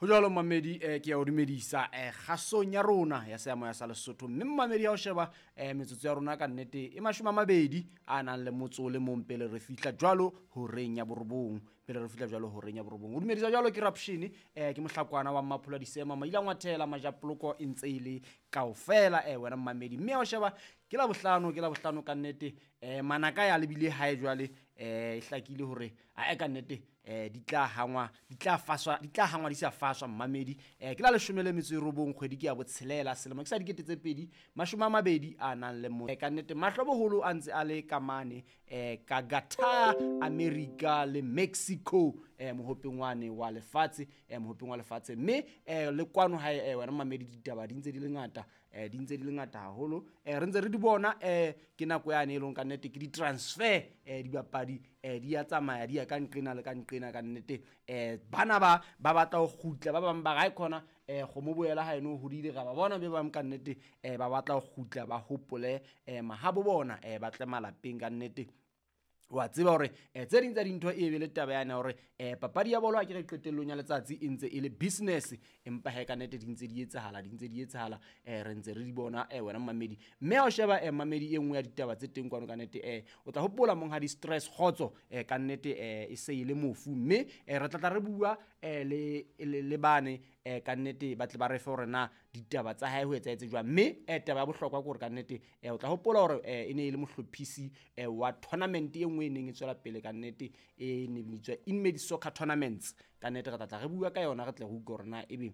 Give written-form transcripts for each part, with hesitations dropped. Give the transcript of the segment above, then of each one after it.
Ho jwalo mmamedi, ke ya o dumedisa kgasong ya rona ya seyamoya sa Lesotho. Mme mmamedi ha o sheba metsotso ya rona ka nnete e 20 a nang le motso o le mong pele re fihla jwalo horeng ya borobong, pele re fihla jwalo horeng ya borobong. O dumedisa jwalo ke Rapshini, ke mohlakwana wa Mmaphula Disema, Maila Ngwathela, Majapoloko e ntse e le kaofela, wena mmamedi. Mme ha o sheba ke la bohlano, ke la bohlano ka nnete, manaka ya lebile hae jwale, e hlakile hore ae ka nnete, di tla hangwa, di tla faswa, di tla hangwa di sa faswa mmamedi. Ke la 19 kgwedi ke ya botshelela, selemo ke sa 2020 a nang le mo. Ka nnete mahlo boholo a ntse a le ka mane, ka Qatar, America le Mexico, mohopeng wane wa lefatshe, mohopeng wa lefatshe. Mme le kwano hae, wena mmamedi, ditaba di ntse di le ngata, di ntse di le ngata haholo, re ntse re di bona, ke nako yane e leng ka nnete ke di-transfer, dibapadi, di ya tsamaya di ya ka nqena le ka nqena ka nnete. Bana ba ba batla ho kgutla, ba bang ba re khona, kgomo boela ha eno hodile, ra ba bona be bang ka nnete, ba batla ho kgutla ba hopole, mahabo bona, ba tle malapeng ka nnete. Wa tseba hore tse ding tsa dintho e be le taba yane hore papadi ya bolo ha ke re qetellong ya letsatsi e ntse e le business, empa he ka nnete di ntse di etsahala, di ntse di etsahala, re ntse re di bona, wena mmamedi. Mme ha o sheba mmamedi, e nngwe ya ditaba tse teng kwano ka nnete, o tla hopola monghadi Stress Kgotso, ka nnete, e se e le mofu, mme re tla tla re bua le bane, ka nnete ba tle ba re fe hore na ditaba tsa hae ho etsahetse jwang. Mme taba ya bohlokwa ke hore ka nnete, o tla hopola hore e ne e le mohlophisi wa tournament e nngwe e neng e tswela pele ka nnete, e ne bitswa Inmate Soccer Tournaments. Ka nnete re tla tla re bua ka yona, re tle re utlwe hore na ebe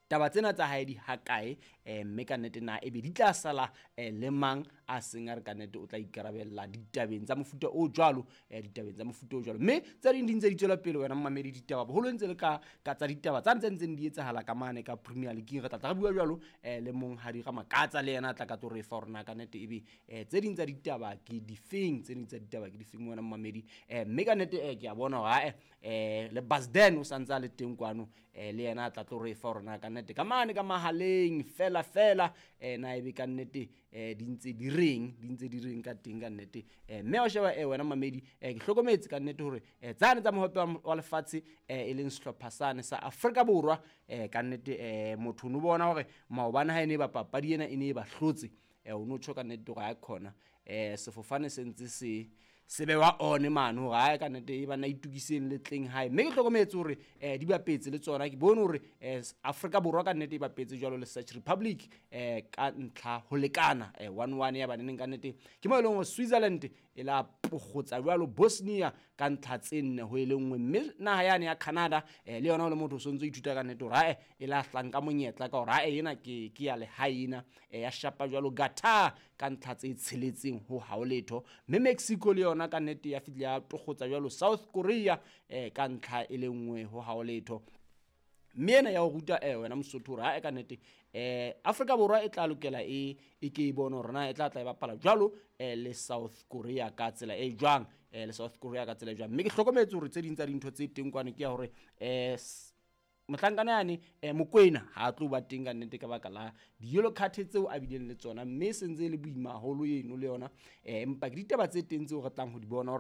taba tsena tsa hae di hakae, mme ka nnete na ebe di tla sala le mang a seng a re ka nnete o tla ikarabella ditabeng tsa mofuta o jwalo, ditabeng tsa mofuta o jwalo. Mme tse ding di ntse di tswela pele wena mmamedi, ditaba boholo ntse le ka tsa ditaba tsa ntseng di etsahala ka mane ka Premier League. Re tla tla re bua jwalo, le monghadi Ramakatsa le yena a tla ka tlo re fa hore na ka nnete ebe tse ding tsa ditaba ke difeng, tse ding tsa ditaba ke difeng wena mmamedi. Mme ka nnete, ke a bona hore ae, le Basden o santse a le teng kwano, le yena a tla tlo re fa hore na ka nnete ka mane ka mahaleng fela fela, na ebe ka nnete, di ntse di reng, di ntse di reng ka teng ka nnete. Mme ha o sheba, wena mmamedi, ke hlokometse ka nnete hore tsane tsa mohope wa lefatshe, e leng sehlopha sane sa Afrika Borwa, ka nnete, motho no bona hore maobane ha e ne ba papadi ena e ne e ba hlotse, o no tjho ka nnete hore ha khona, sefofane se ntse se bewa one mane hore hae ka nnete e bana itukiseng le tleng hae. Mme ke hlokometse hore di bapetse le tsona, ke bone hore Afrika Borwa ka nnete e bapetse jwalo le Czech Republic, ka ntlha ho lekana, 1-1 ya baneneng ka nnete. Ke mo e leng hore Switzerland e la pokgotsa jwalo Bosnia ka ntlha tse 4 ho e le 1. Mme naha yane ya Canada, le yona o le motho o sontso ithuta ka nnete hore hae e la hlanka monyetla ka hore hae ena ke ya lehae ena, ya shapa jwalo Qatar ka ntlha tse 6 ho ha ho letho. Mme Mexico le yona ka nnete ya fihla ya tokgotsa jwalo South Korea, ka ntlha e le 1 ho ha ho letho. Mme ena ya ho ruta, wena Mosotho hore hae ka nnete, Afrika Borwa e tla lokela e ke e bone hore na e tla tla e bapala jwalo, le South Korea ka tsela e jwang, le South Korea ka tsela e jwang. Mme ke hlokometse hore tse ding tsa dintho tse teng kwana ke ya hore, mohlankana yane, Mokoena ha a tlo ba teng ka nnete ka baka la di-yellow card tseo a bileng le tsona, mme se ntse e le boima haholo eno le yona, empa ke ditaba tse teng tseo re tlang ho di bona hore